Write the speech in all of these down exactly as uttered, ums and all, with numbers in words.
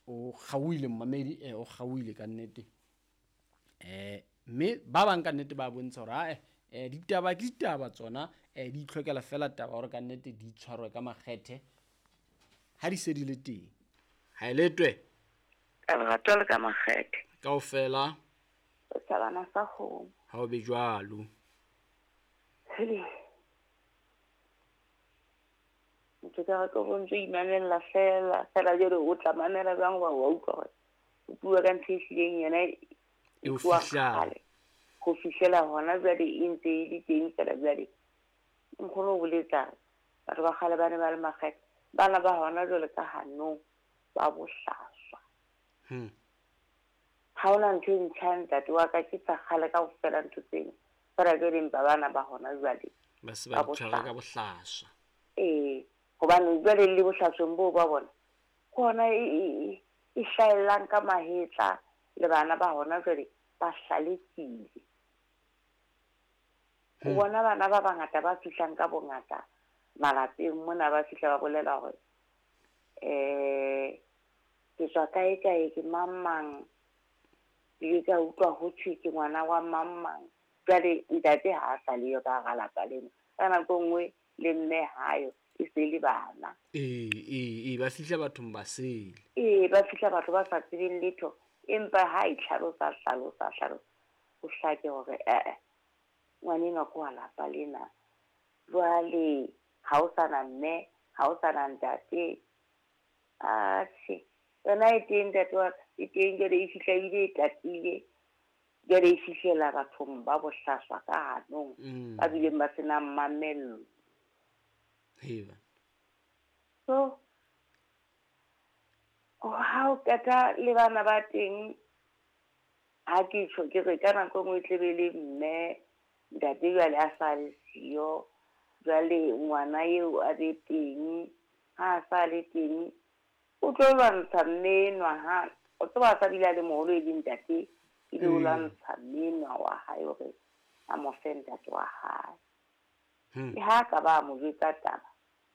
O kgaohile mmamedi, eh, o kgaohile ka nnete. Eh, mme ba bang ka nnete ba bontsha hore ae, eh, ditaba ke ditaba tsona, eh, di itlhokela fela taba hore ka nnete di tshwarwe ka makgethe ha di se di le teng. Ha e letwe. Ka lerato le ka makgethe. Kaofela. Setjhabana sa kgomo. Ha o be jwalo. Hele. Ntho ka re ke go ntse imamella fela, fela jwale o tla mamela jwang hoba wa utlwa hore o bua ka ntho e hlileng yona E o e tloha fihlang. kgale. Ho fihlela hona jwale e ntse e le teng fela jwale. Nkgono o boletsa batho ba kgale ba ne ba le makgethe. Bana ba hona jwale ka hanong ba bohlaswa. Hmm. Ha hona ntho e ntjha ntate wa ka, ke tsa kgale kaofela ntho tseno. Fela jwale empa bana ba hona jwale Ba se ba ba di tshwara ka bohlaswa. bohlaswa. Ee, hobane jwale le bohlasweng boo ba bona, ke hona e, e, e, e hlaellang ka mahetla le bana ba hona jwale ba hlalefile. O Hmm. bona bana ba bangata ba fihlang ka bongata malapeng mona, ba fihla ba bolela hore, eh, ke tswa kae kae, ke mang mang, ke ile ka utlwa ho thwe ke ngwana wa mang mang. Jwale ntate ha a sa le yo ka hara lapa lena, ka nako e nngwe le mme hayo, e se le bana. Ee, ee, ee, ba fihla bathong ba sele. Ee, ba fihla batho ba sa tsebeng letho, empa ha e hlalosa, hlalosa, hlalosa, ho hlake hore, eh, eh, ngwanenwa ke wa lapa lena. Jwale ha o sa na mme, ha o sa na ntate. Atjhe, yona e teng ntate wa ka, e teng jwale e fihla ebile e tatile. Jwale e fihlela bathong ba bohlaswa ka hanong, Mm. ba bileng ba senang mamello. Heba. So, ha o qeta le bana ba teng, ha ke tjho ke re ka nako e nngwe e tle be le mme, ntate jwale a sa le siyo, jwale ngwana eo a be teng, ha a sa le teng, o tlo lwantsha mme enwa ha, o tseba a sa bile a le moholo e le ntate, ebile o Mm. lwantsha mme enwa wa hae hore a mo fe ntate wa hae. Hmm. Le ha ka ba mo jwetsa taba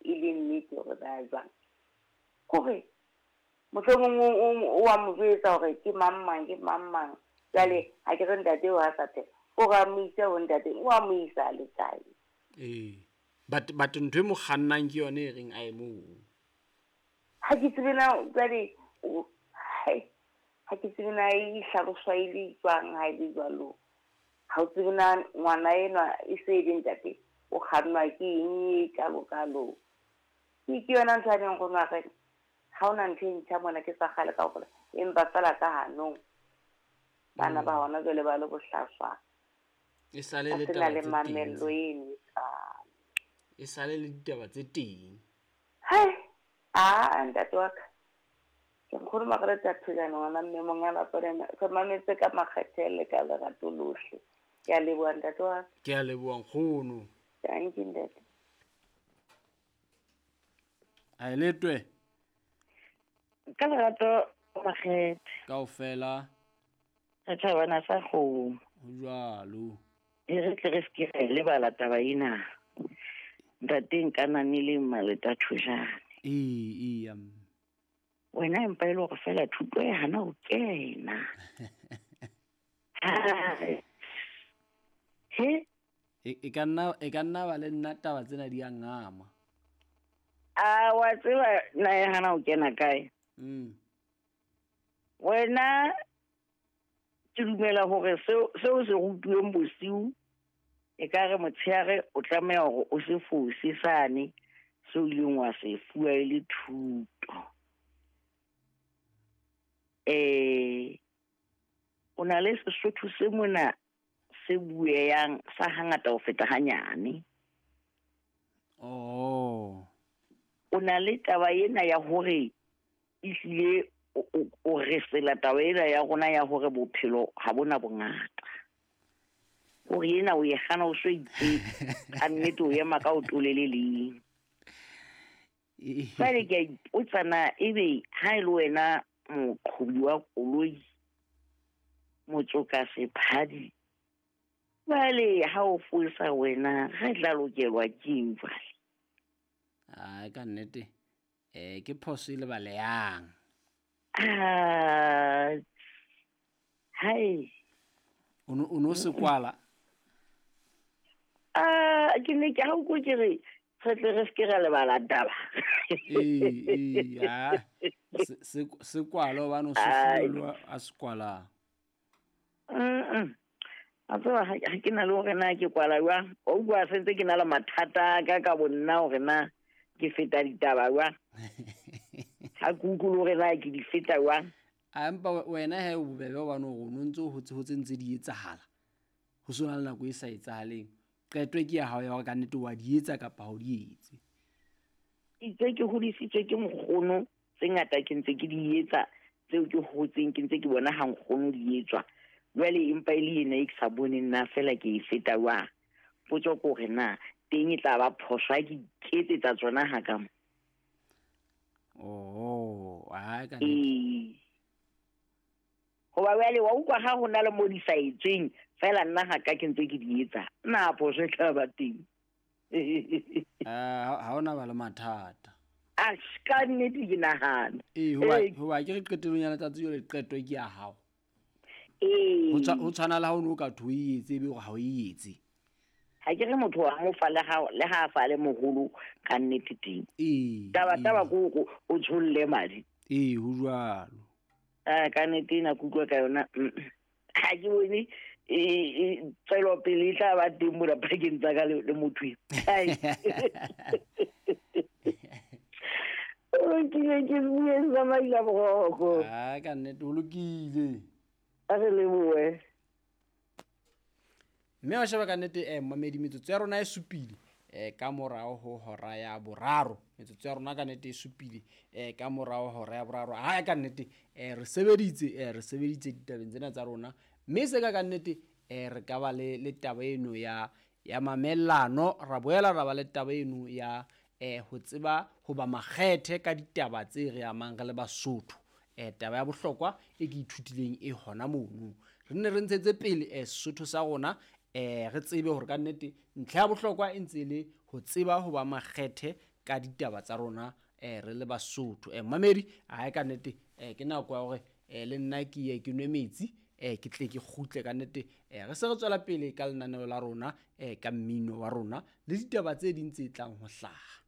e le nnete hore ba jwang, kore mohlomong o, o, o a mo jwetsa hore ke mang mang, ke mang mang. Jwale ha ke re ntate o a sa phela, o re a mo ise ho ntate, o a mo isa le kae? Ee. But, but ntho e mo kgannang ke yona e reng a ye moo. Ha ke tsebe na jwale, o, hai, ha ke tsebe na e hlaloswa e le jwang ha e le jwalo. Ha o tsebe na ngwana enwa e se e le ntate, o kgannwa ke eng e kalo-kalo. Ke, ke yona ntho a neng nkgono a re, ha hona ntho e ntjha mona ke sa kgale kaofela, empa fela ka hanong. Bana ba Mm. hona jwale ba le bohlaswa. E sale Ba le sena taba le tse teng mamello tse. eno e kalo. E sale le ditaba tse teng. Hai, aa, ntate wa ka. Ke nkgono Margaret Thojane, ngwana mme monga lapa lena. Re mametse ka makgethe le ka lerato lohle. Ke a leboha ntate wa ka. Ke a leboha nkgono. Thank you ntate. A e letwe. Ka lerato makgethe. Kaofela. Re thabana sa kgomo. Ho jwalo. E re tle re se ke ra e lebala taba ena. Ntate nka nane le Maleta Thojane. Ee, ee, um. Wena empa e le hore fela thuto e hana ho kena. Hai. He? E, e ka nna, e ka nna ba le nna taba tsena di a ngama. A wa tseba na e hana ho kena kae? Mm. Wena ke dumela hore seo, seo se rutuweng bosiu e ka re motshehare o tlameha hore o se fose sane seo ileng wa se fuwa e le thuto. Eh, o na le Sesotho se mona se bueyang sa hangata ho feta hanyane. Oh. O na le taba ena ya hore ehlile o, o, o resela taba ena ya rona ya hore bophelo ha bona bongata. Hore ena o e hana o so itse, ka nnete o ema ka o tolele leng. Jwale ke a ipotsa na ebe ha e le wena moqhobi wa koloi, motsoka sephadi, jwale ha o fosa wena re tla lokelwa ke eng jwale? Ai, ka nnete, eh, ke phoso e lebalehang. Ah, hai. O no o no se kwala. Ah, ke ne ke ha o ke re re tle re se ke ra lebala taba. Ee, ee, ah, se se se kwala hobane o se fulwa a se kwala. Mm. A tseba ha ke na le hore na ke kwala jwang. O bua sentse ke na le mathata ka ka bonna hore na ke feta ditaba jwang. Ha ke utlwe hore na ke di feta jwang. A empa wena he o bobebe hobane o no ntso ho tse ho tse ntse di etsahala. Ho sona le nako e sa etsahaleng. Qeto ke ya hao ya hore ka nnete wa di etsa kapa ha o di etse. Itse ke hodisitswe ke nkgono, tse ngata ke ntse ke di etsa tseo ke hotseng ke ntse ke bona ha nkgono di etswa. Jwale empa e le ena e ke sa boneng nna fela ke e feta jwang. Potso ke hore na teng e tla ba phoso ha ke iketsetsa tsona ha ka mo. Oh, ha ka nnete. Ee. Hoba jwale wa utlwa ha ho na le mo di sa etsweng fela nna ha ka ke ntse ke di etsa. Na phoso e tla ba teng. Ah, ha hona ba le mathata. A ka nnete ke nahana. Ee, hoba hoba ke re qetellong ya letsatsi jwale qeto ke ya hao. Ee. Ho tshwa ho tshwana le ha o no ka thwe o e etse ebe hore ha o e etse. Ha ke re motho wa mo fa le ha le ha a fa le moholo ka nnete teng. Ee. Taba taba ko o o tsholle madi. Ee, ho jwalo. Ah, ka nnete ena ke utlwa ka yona. Ha ke bone e e tswelopele e tla ba teng mona pakeng tsa ka le motho eo. Ai. O kile ke bue sa maila boroko. Ah, ka nnete ho lokile. A re lebohe. Mme wa sheba ka nnete eh mamedi metsotso ya rona e supile eh ka morao ho hora ya boraro. Metsotso ya rona ka nnete e supile eh ka morao hora ya boraro. Ha ka nnete eh re sebeditse eh re sebeditse ditabeng tsena tsa rona. Mme se ka ka nnete eh re ka ba le le taba eno ya ya mamellano, ra boela ra ba le taba eno ya eh ho tseba ho ba makgethe ka ditaba tse re amang re le Basotho. Eh taba ya bohlokwa e ke ithutileng e hona mono. Re ne re ntshetse pele eh Sesotho sa rona eh re tsebe hore ka nnete ntlha ya bohlokwa e ntse le ho tseba ho ba makgethe ka ditaba tsa rona eh re le Basotho. Eh mamedi ha ka nnete eh ke nako ya hore eh le nna ke ye ke nwe metsi eh ke tle ke kgutle ka nnete eh re se re tswela pele ka lenaneo la rona eh ka mmino wa rona le ditaba tse ding tse tlang ho hlaha.